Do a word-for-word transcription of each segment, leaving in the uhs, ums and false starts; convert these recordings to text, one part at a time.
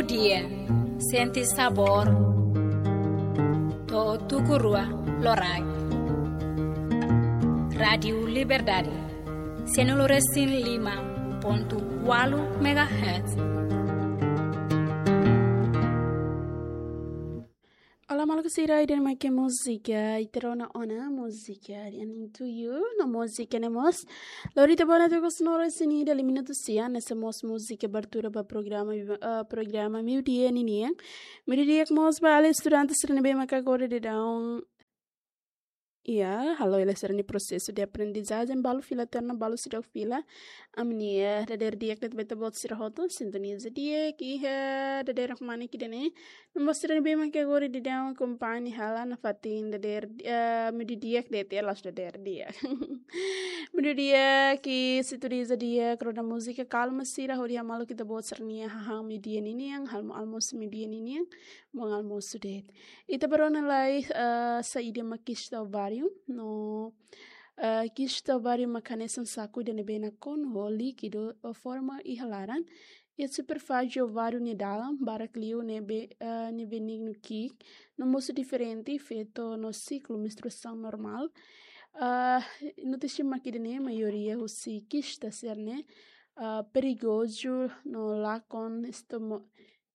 Dia, sente sabór. To'o tuku rua loraik. Rádiu Liberdade, sianulu resin lima pontu ualu megahertz. Olá, maluk sira, ida-ne'e mak múzika ita rona ona, múzika Running to You, no múzika ne'e mós lori ita ba ona to'o ikus nulu resin ida, lima minutu sia, ne'e mós múzika abertura ba programa, eh, programa Meiudia ninian. Meiudia di'ak mós ba alin estudante sira ne'ebé maka agora daudaun, ya, halo hela sira-nia prosesu de aprendizajen, balu fila tiha ona, balu seidauk fila. Ami-nia dadeer di'ak de'it ba ita-boot sira hotu, sintoniza di'ak iha dadeer kmanek ida-ne'e. No mós sira ne'ebé maka agora daudaun akompaña hela nafatin dadeer, eh, meiudia di'ak de'it, ya, la'ós dadeer di'ak. Meiudia di'ak, sintoniza di'ak, rona múzika kalma sira, hodi hamaluk ita-boot sira-nia hahán meiudia ninian, almo-, almosu meiudia ninian, bom almoço de'it. Ita bá rona lai, eh, saida mak kista ováriu, no, eh, kista ováriu mak hanesan saku ida ne'ebé nakonu ho líkidu ou forma iha laran. Iha superfázie ováriu nia dalan, barak liu ne'ebé, eh, ne'e benignu ki'ik, no mosu diferente feto no siklu menstruasaun normál. Ah, notísia mak ida-ne'e, maioria husi kista sira-ne'e, ah, perigozu no lakon estomo-,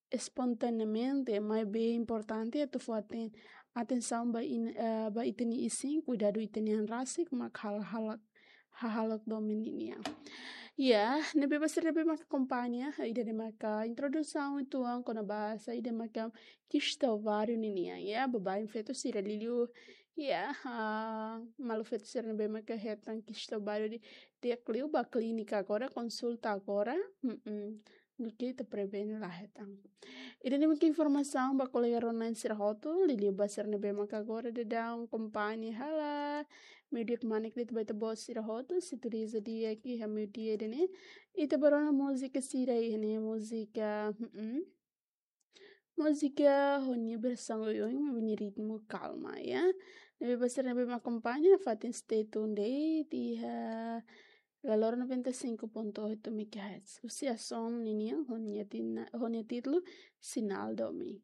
espontaneamente, maibé importante atu fó aten-, atensaun ba in-, eh, ba ita-nia isin, kuidadu ita-nia an rasik mak hal-, hahalok, hahalok domin ninian. Ya, ne'ebé ba sira ne'ebé maka akompaña, ida-ne'e maka introdusaun uitoan kona-ba saida maka kista ováriu ninian, ya, baibain feto sira liuliu, ya, ah, maluk feto sira ne'ebé maka hetan kista ováriu di, di'ak liu bá klínika agora, konsulta agora, mm-mm. Duké ita prevene la hetan. Ida-ne'e mak informasaun ba kolega rona-na'in sira hotu, liuliu ba sira ne'ebé maka agora daudaun akompaña hela Meiudia kmanek de'it ba ita-boot sira hotu, sintoniza di'ak iha meiudia ida-ne'e. Ita bá rona múzika sira iha ne'e, múzika, mm-mm. Múzika ho nia versaun oioin, ho nia ritmu kalma, ya. Ne'ebé ba sira ne'ebé mak akompaña, fatin stay tuned de'it iha valór noventa e cinco ponto oito megahertz. Husi Ason ninian, ho nia tina-, ho nia títulu Sinál Domin.